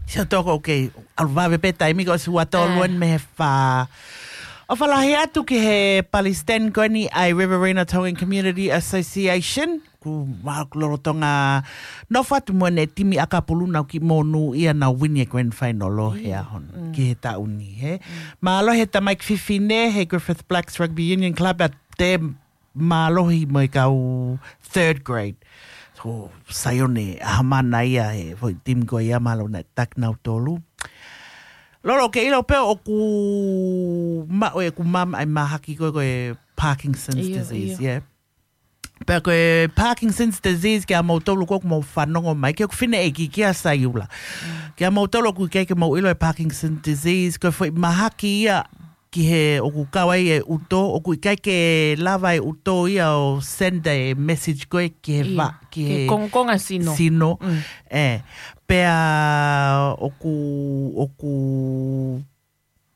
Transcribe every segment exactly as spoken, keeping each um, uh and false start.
Sio toko, okay. ʻAlu vave pē taimi ko si ua tolu eni mei he fā. ʻOfa lahi atu ki he palesiteni ko eni ʻa e Riverina Tongan Community Association. Ko e lolotonga nofo atu mo ʻene timi ʻakapulu, nau kiʻi monūʻia nau wini e grand final ʻo e ʻaho ni ki he taʻu ni, hē. Mālō he tamaiki fefine he Griffith Blacks Rugby Union Club, ʻa e mālohi mo e kau third grade. So, Saione ʻAhamana ia he foʻi timi ko ia, mālō naʻe taki nautolu. Lolo, ke ʻilo pē ʻoku maʻu ʻe ʻeku mama ʻa e mahaki ko ē, ko e Parkinson's disease, yeah. Pea ko e Parkinson's disease, kia moutolu ko ē ʻoku mou fanongo mai, ki hoku fineʻeiki, kia Saiula. Kia moutolu ʻoku ʻikai ke mou ʻilo e Parkinson's disease, ko e foʻi mahaki ia ki he ʻoku kau ai e ʻuto, ʻoku ʻikai ke lava e ʻuto ia ʻo send e message ko ē ki he va, ki he kongokonga sino. Sino. ʻE, pea ʻoku, ʻoku,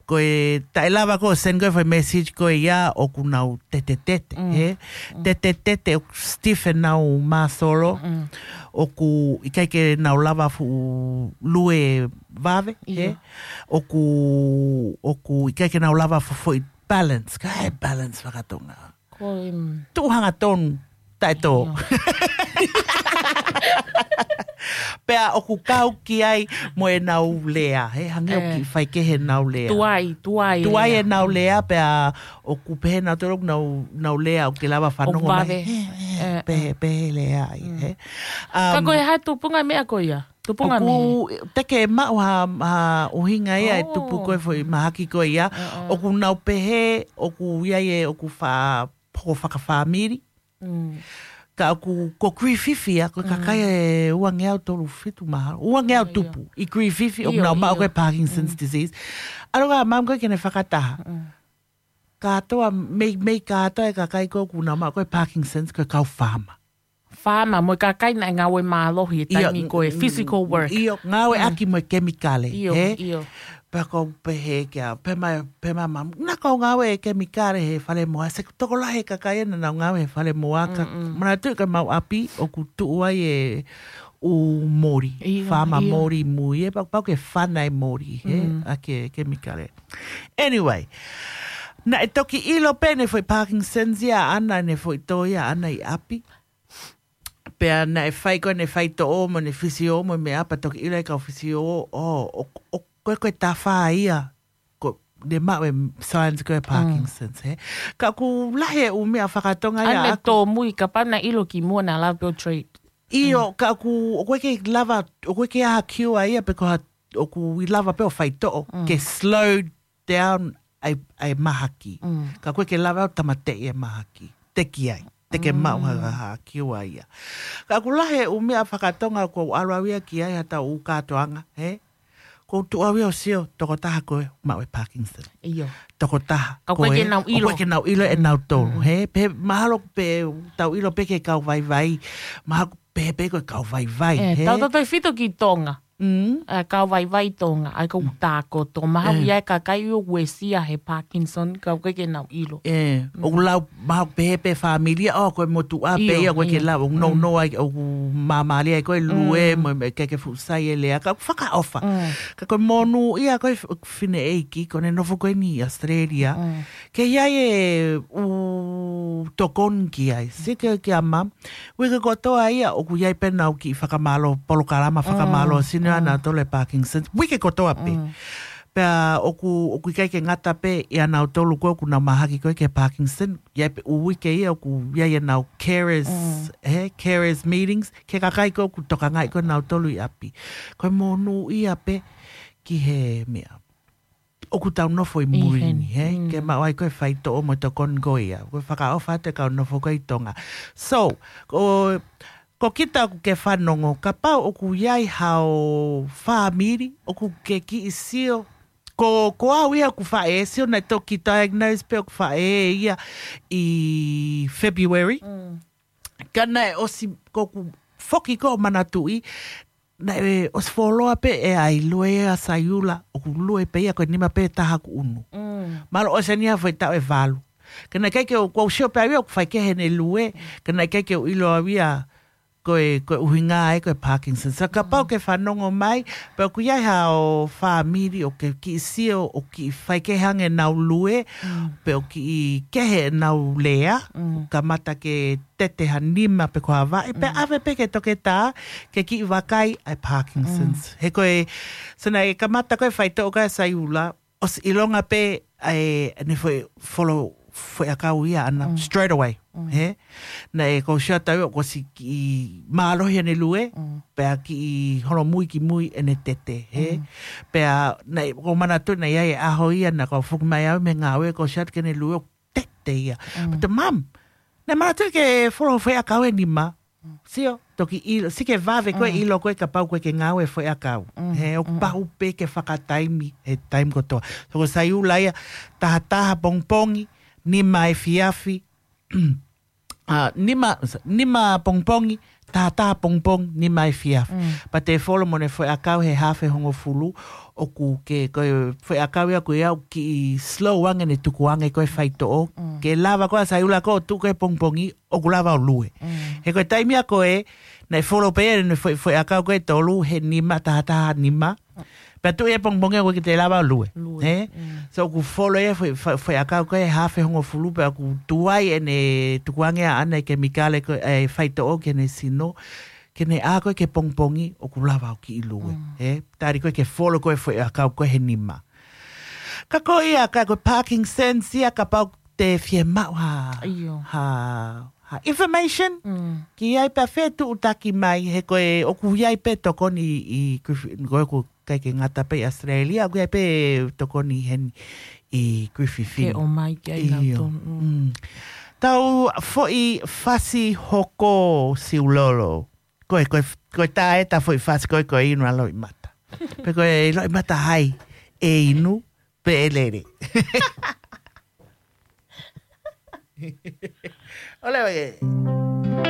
ko e taʻe lava ko ē ʻo send ko ē foʻi message ko ia ʻoku nau tetetete, hē? Tetetete, ʻoku stiff ʻenau māsolo, ʻoku ʻikai ke nau lava fuʻu lue vave, hē? ʻOku, ʻoku ʻikai ke nau lava fuʻu foʻi balance, ka e balance fakatonga. Ko e, mm, tuʻu hangatonu, taʻe tō. Pea ʻoku kau ki ai mo ʻenau lea, hē, hangē ʻoku kiʻi faikehe ʻenau lea. Tuai, tuai. Tuai ʻenau lea, pea ʻoku pehē nautolu ʻoku nau, nau lea ʻoku ke lava fanongo mai. Vave. Hē, hē, pehē, pehē lea ai, hē. Ka ko e hā tupunga meʻa ko ia? Tupunga meʻa. ʻOku te ke maʻu ha, ha ʻuhinga ia e tupu ko ē foʻi mahaki ko ia. ʻOku nau pehē, ʻoku ʻi ai e, ʻoku fa-, hoko fakafāmili. Ka ʻoku, ko Griffith ia, ko e kakai ʻe uangeau tolu fitu mahalo. Uangeau tupu ʻi Griffith, ʻoku nau maʻu ko ē Parkinson's disease. ʻAlu ka mamu ko ē ke ne fakataha. Kātoa, mei, mei kātoa e kakai ko ē ʻoku nau maʻu ko ē Parkinson's, ko e kau faama. Faama, mo e kakai naʻe ngāue mālohi he taimi ko e physical work. ʻIo, ngāueʻaki mo e kemikale, hē? ʻIo. Pea ko u pehē kia, pehē mai, pehē mai mamu, naʻa ku ngāue e kemikale he fale moa, se tokolahi e kakai ena naʻa nau ngāue he fale moa, ka manatuʻi ko e mau ʻapi, ʻoku tuʻu ai e ʻū moli, faama moli mui, ʻe pau, pau ke fana e moli, hē? ʻA e kemikale. Anyway, naʻe toki ʻilo pē ʻene foʻi Parkinson's ia ʻaʻana, ʻene foʻi tō ia ʻaʻana ʻi ʻapi. Pea naʻe fai ko ē ʻene faitoʻo mo ʻene fisio mo e meʻa, pea toki ʻilo ʻe he kau fisio, ʻo, ʻo, ʻo, ko e, ko e tafa ia, ko ʻene maʻu e signs ko ē Parkinson's, hē? Ka ʻoku lahi e ʻū meʻa fakatonga ia ʻaʻaku. Tōmui, kapau naʻe ʻilo kimuʻa naʻa lava pē ʻo treat. ʻIo, ka ʻoku, ʻoku ʻikai ke lava, ʻoku ʻikai ke ʻi ai ha cure ia pe ko ha, ʻoku ʻi ai lava pē ʻo faitoʻo, ke slow down ʻa e, ʻa e mahaki. Ka ʻoku ʻikai ke lava ʻo tāmateʻi e mahaki. Teʻeki ai. Te ke maʻu ha, ha, ha cure ia. Ka ʻoku lahi e ʻū meʻa fakatonga ʻoku ou ʻalu au ia ki ai ha tau ʻū kātoanga, hē? Ko u tuʻu au ia ʻo sio, tokotaha ko ē maʻu e Parkinson. ʻIo. Tokotaha ko ē. Ka ʻoku ʻikai ke nau ʻilo. ʻOku ʻikai ke nau ʻilo ʻe nautolu, hē? Pea mahalo pē tau ʻilo pē ki he kau vaivai. Mahalo pē, pē ko e kau vaivai, hē? Tau tautefito ki Tonga. ʻA e kau vaivai Tonga, ʻa e kau tākoto. Mahalo ʻi ai e kakai ʻoku uesia he Parkinson, ka ʻoku ʻikai ke nau ʻilo. ʻE, ʻoku lau, mahalo pehē pē fāmili ia, ʻo, ko e motuʻa pē ia, ʻoku ʻikai ke lau, ʻoku nounou ai, ʻoku māmālie ai ko e lue, mo e, mo e ʻikai ke fuʻu sai e lea, ka ʻoku fakaʻofa. Ka ko e monūʻia ko ē f-, fineʻeiki, ko ʻene nofo ko eni ʻi Australia. Ke ʻi ai e ʻū tokoni ki ai. Sio ki ai, mā, uike kotoa ia, ʻoku ʻi ai pē ʻenau kiʻi fakamālō, polokalama fakamālō sino ʻanautolu e Parkinson. Uike kotoa pē. Pea ʻoku, ʻoku ʻikai ke ngata pē ʻia nautolu ko ē ʻoku nau mahaki ko ē ki he Parkinson. ʻI ai pē ʻū uike ia ʻoku ʻi ai ʻenau carers, hē, carers meetings, ki he kakai ko ē ʻoku tokangaʻi ko ē nautolu ʻi ʻapi. Ko e monūʻia pē ki he meʻa ʻoku tau nofo ʻi mui ni, hē? Ke maʻu ai ko ē faitoʻo mo e tokoni ko ia. Ko e fakaʻofa atu e kau nofo ko ē ʻi Tonga. So, ko, ko kita ʻoku ke fanongo, kapau ʻoku ʻi ai hao fāmili, ʻoku ke kiʻi sio. Ko, ko au ia ʻoku faʻē, sio naʻe toki diagnose pē ʻoku faʻē ia ʻi February. Ka naʻe ʻosi, ko ʻeku foki ko ē ʻo manatuʻi, naʻe ʻosi fuoloa pē e ʻai lue ʻa Saiula, ʻoku lue pē ia ko e nima pē taha ʻoku ʻunu. Mahalo ʻosi eni ha foʻi taʻu ʻe valu. Ka naʻe ʻikai ke u, ko u sio pē au ia ʻoku faikehe ʻene lue, ka naʻe ʻikai ke u ʻilo au ia ko e, ko e ʻuhinga ē ko e Parkinson. So kapau ke fanongo mai, pe ʻoku ʻi ai haʻo fāmili ʻoku ke kiʻi sio ʻoku kiʻi faikehe ange ʻenau lue, pe ʻoku kiʻi kehe ʻenau lea, kamata ke tete ha nima pe ko ha vaʻe, pe ʻave pē ki he toketā, ke kiʻi vakai ʻa e Parkinson's. He ko e, so naʻe kamata ko e faitoʻo ko ē ʻa Saiula, ʻosi ʻilonga pē ʻa e, ʻene foʻi folo, foʻi ʻakau ia ʻana, straight away. He? Naʻe ko Shata ua ʻoku ʻosi kiʻi mālohi ʻene lue, pea kiʻi holomui ki mui ʻene tete. He? Pea naʻe, ʻoku ou manatu naʻe ʻi ai e ʻaho ia naʻa ku foki mai au mei he ngāue ko Shata ke ne lue ʻoku tete ia. But the mum, naʻe manatu ke folo foʻi ʻakau ʻe nima. Sio, toki ʻilo, sio ki he vave ko ē ʻilo ko ē kapau ko ē ke ngāue foʻi ʻakau. He ʻoku pau pē ke fakataimi, he taimi kotoa. So ko Saiula ia, taha taha pongipongi, nima efiafi, ʻa, nima, nima pongipongi, taha taha pongipongi, nima efiafi. Pea te folo mo ʻene foʻi ʻakau he hafe hongofulu, ʻoku ke, ko e foʻi ʻakau ia ko ia ʻoku kiʻi slow ange ʻene tukuange ko e faitoʻo. Ke lava ko ē ʻa Saiula ko ē ʻo tuʻu ko ē pongipongi, ʻoku lava ʻo lue. He ko e taimi ia ko ē, naʻe folo pē ʻene foʻi, foʻi ʻakau ko ē ʻe tolu, he nima taha taha nima. Pea tuʻu ia pongipongi ʻoku ʻikai ke te lava ʻo lue. He? So ʻoku folo ia foʻi, foʻi, foʻi ʻakau ko ē hafe hongofulu pea ʻoku tuai ʻene tukuange ʻa ʻene kemikale ko ē faitoʻo ki heʻene sino. Ke ne ʻā ko ē ki he pongipongi ʻoku lava ʻo kiʻi lue. He? Tali ko ē ke folo ko ē foʻi ʻakau ko ē he nima. Ka ko ia, ka ko e Parkinson's ia kapau te fiemaʻu ha, ha, ha information. Ki ai pea fetuʻutaki mai, he ko e ʻoku ʻi ai pē tokoni ʻi Griffith, ko e ʻoku ʻikai ke ngata pē ʻi ʻAositelēlia, ʻoku ʻi ai pē tokoni heni ʻi Griffith. Ke ʻomai ki ai nautolu. Tau foʻi fasi hoko Siulolo. Ko e, ko e, ko e tā ē ta foʻi fasi ko e, ko e inu ʻa Loʻimata. Pe ko e Loʻimata hai, ʻe inu, pe ʻe lele. ʻOle ʻoe.